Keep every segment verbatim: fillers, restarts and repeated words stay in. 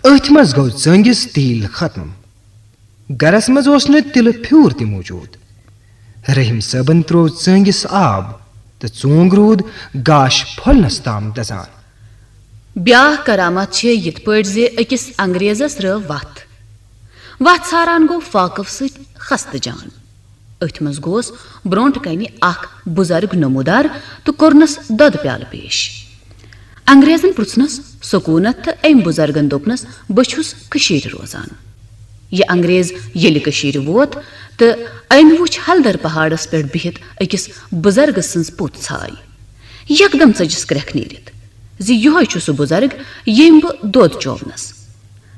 أتھۍ منٛز گوٚو ژٲنٛگِس تیٖل ختم۔ گرس منٛز اوس نہٕ تِلہٕ پھیوٗر تہِ موٗجوٗد۔ رحیم صٲبن تروو ژٲنٛگِس آب تہٕ ژونٛگ روٗد گاش پھۄلنس تام دزان۔ بیاکھ کرامت چھِ یِتھ پٲٹھۍ زِ أکِس انگریزس رٲو وَتھ۔ وَتھ ژھاران گوٚو فاقف سۭتۍ خستہٕ جان۔ أتھۍ منٛز گوس برونٛٹھ کنہِ اکھ بُزرگ نمودار تہٕ کوٚرنس دۄدٕ پیالہٕ پیش۔ انگریزن پرُژھنس سکوٗنت تہٕ أمۍ بُزرگن دوٚپنس، "بہٕ چھُس کٔشیٖرِ روزان۔" یہِ انگریز ییٚلہِ کٔشیٖرِ ووت تہٕ أمۍ وُچھ ہلدر پہاڑس پٮ۪ٹھ بِہِتھ أکِس بُزرگہٕ سٕنٛز پوٚت ژھاے۔ یکدم ژٔجِس کرٛٮ۪کھ نیٖرِتھ زِ یِہوٚے چھُ سُہ بُزرگ، ییٚمۍ بہٕ دۄد چوونس۔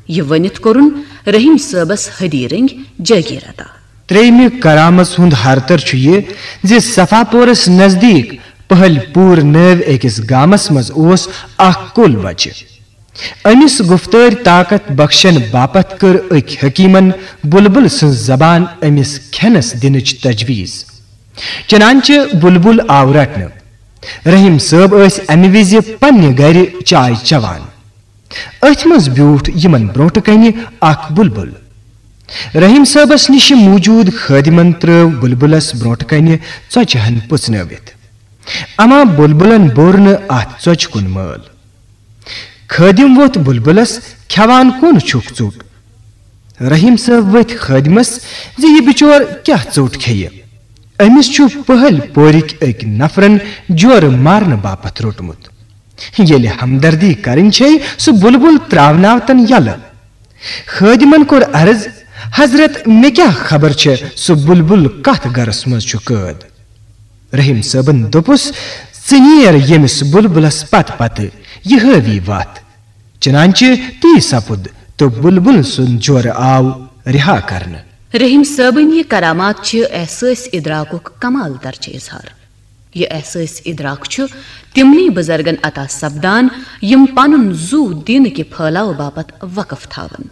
یہِ ؤنِتھ کوٚرُن رحیم صٲبس حدی رٔنگۍ جٲگیٖر عطا۔ ترٛیٚیمہِ کرامژ ہُنٛد ہرتر چھُ یہِ زِ صفا پورس نزدیٖک پہلۍ پوٗر نٲوۍ أکِس گامس منٛز اوس اکھ کُل بچہِ۔ أمِس گُفتٲرۍ طاقت بخشن باپتھ کٔر أکۍ حکیٖمن بُلبُل سٕنٛز زبان أمِس کھٮ۪نس دِنٕچ تجویٖز۔ چنانچہ بُلبُل آو رٹنہٕ۔ رحیم صٲب ٲسۍ امہِ وِزِ پننہِ گرِ چاے چٮ۪وان۔ أتھۍ منٛز بیوٗٹھ یِمن برونٛٹھٕ کنہِ اکھ بُلبُل۔ رحیم صٲبس نِش موٗجوٗد خٲدِمن ترٲو بُلبُلس برونٛٹھٕ کنہِ ژۄچہِ ہن پُژنٲوِتھ۔ اما بُلبُلن بوٚر نہٕ اتھ ژۄچہِ کُن مٲل۔ خٲدِم ووٚتھ بُلبُلس، "کھٮ۪وان کون چھُکھ ژوٚٹ؟" رحیم صٲب ؤتھۍ خٲدِمس زِ یہِ بِچور کیٛاہ ژوٚٹ کھیٚیہِ؟ أمِس چھُ پہلۍ پورِکۍ أکۍ نفرن جورٕ مارنہٕ باپتھ روٚٹمُت۔ ییٚلہِ ہمدردی کرٕنۍ چھے، سُہ بُلبُل تراوناوتن یلہٕ۔ خٲدِمن کوٚر عرض، "حضرت، مےٚ کیٛاہ خبر چھےٚ سُہ بُلبُل کتھ گرس منٛز چھُ قٲد؟" رحیم صٲبن دوٚپُس، "ژٕ نیر ییٚمِس بُلبُلس پتہٕ پتہٕ، یہِ ہٲوی وتھ۔" چنانچہ تی سپُد تہٕ بُلبُل سُنٛد جورٕ آو رِہا کرنہٕ۔ رحیم صٲبٕنۍ یہِ کرامات چھِ احساس ادراکُک کمال درجہٕ اظہار۔ یہِ احساس ادراک چھُ تِمنٕے بُزرگن عطا سپدان، یِم پنُن زُو دیٖنہٕ کہِ پھٲلاو باپتھ وقف تھاوان۔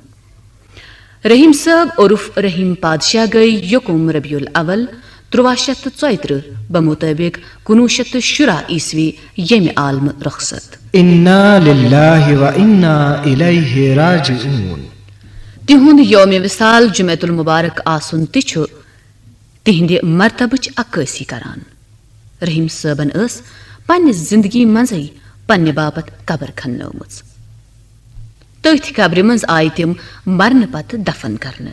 رحیم صٲب عرف رحیم پادشاہ گٔے یکم ربیع الاول ترٛواہ شیٚتھ تہٕ ژۄیہِ ترٕٛہ بمطٲبق کُنوُہ شیٚتھ تہٕ شُراہ عیسوی ییٚمہِ عالمہٕ رخصت۔ انا للہ و انا الیہ راجعون۔ تِہُنٛد یوم وصال جمعہ المبارک آسُن تہِ چھُ تِہنٛدِ مرتبٕچ عکٲسی کران۔ رحیم صٲبن ٲس پننہِ زندگی منٛزٕے پننہِ باپتھ قبر کھننٲومٕژ۔ تٔتھۍ قبرِ منٛز آیہِ تِم مرنہٕ پتہٕ دفن کرنہٕ۔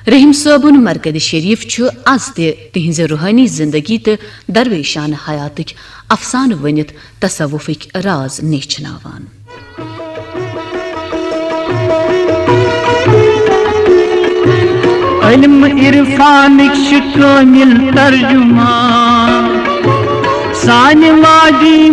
رحیم صٲبُن مرقدِ شریف چھُ از تہِ تِہنٛزِ روحٲنی زندگی تہٕ درویشانہٕ حیاتٕکۍ افسانہٕ ؤنِتھ تصوفٕکۍ راز نیچھناوان۔ علم عرفانٕکۍ چھِ کٲمِل ترجمان۔ سانہِ وادی